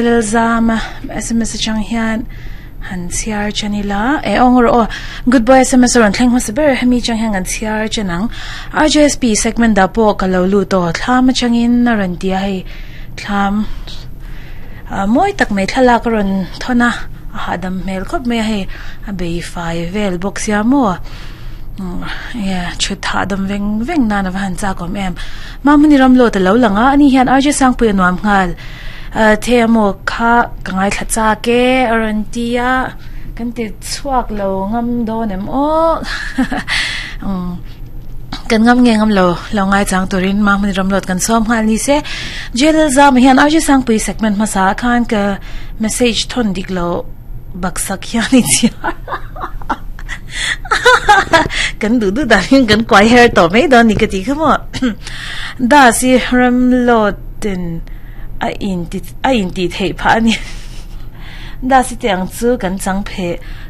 Lalzama sms atang hian han chhiar chen ila e aw rawh aw good boy sms a rawn thleng hmasa ber hemi chang hian kan chhiar chen ang RJSP segment dah pawh ka lo lut aw thlam atangin a rawn ti a hei thlam ah mawi tak mai thlalak a rawn thawn a a hahdam hmel khawp mai a hei a bei fai vel bawk sia maw enge thut hahdam veng veng nan a va han chak awm em Mahmuni Ramlawt a lo lang a ani hian RJ Sangpui a nuam nghal. The amaw kha ka ngaithla chak e a rawn ti a kan ti chhuak lo ngam dawn em aw umm kan ngam nge ngam lo lo ngai chang turin Mahmuni Ramlawt kan sawm nghal ni se Jail zam ah hian RJ Sangpui segment hmasa ah khan ka message thawn dik lo baksak hian i chhiar kan duh duh dan hian kan kuai her tawh mai dawn ni ka tih kha maw Das i Ramlawt in a inti a intih theih phah a ni. Das i tih ang chu kan chang phe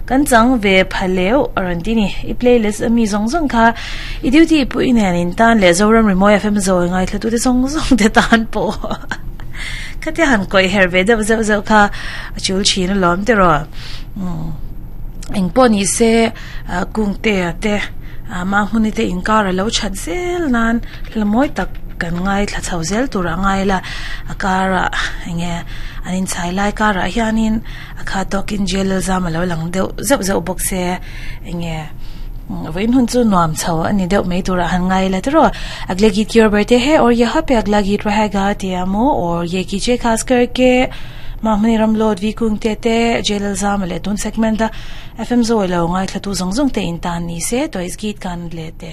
kan chang ve pha leuh a rawn ti ni. I playlist a mi zawng zawng kha i duty pui nen in tan leh Zoram Rimawi FM zawi ngaithla tute zawng zawng te tan pawh khatia han kawih her ve deuh zeuh zeuh kha a chul thin alawm tiraw. Umm engpawh ni se kungte a te mahmuni te inkar a lo that zel nan hla mawi tak kan ngaithla chho zel tur a ngai la a karah enge an inchhai lai karah hianin a kha tawkin jail zam a lo lang deuh zeuh zeuh bawk se enge vawiin hun chu nuam chho a ni deuh mai turah han ngai la tiraw agla geet ki or birthday hai aur yaha pe agla geet rahega tia maw aur ye kijiye khas karke mahmani ram lawt vi kung te te jail zam leh tun segment a fm zawi lo ngaithla tu zawng zawng te in tan ni se toys geet kan leh te.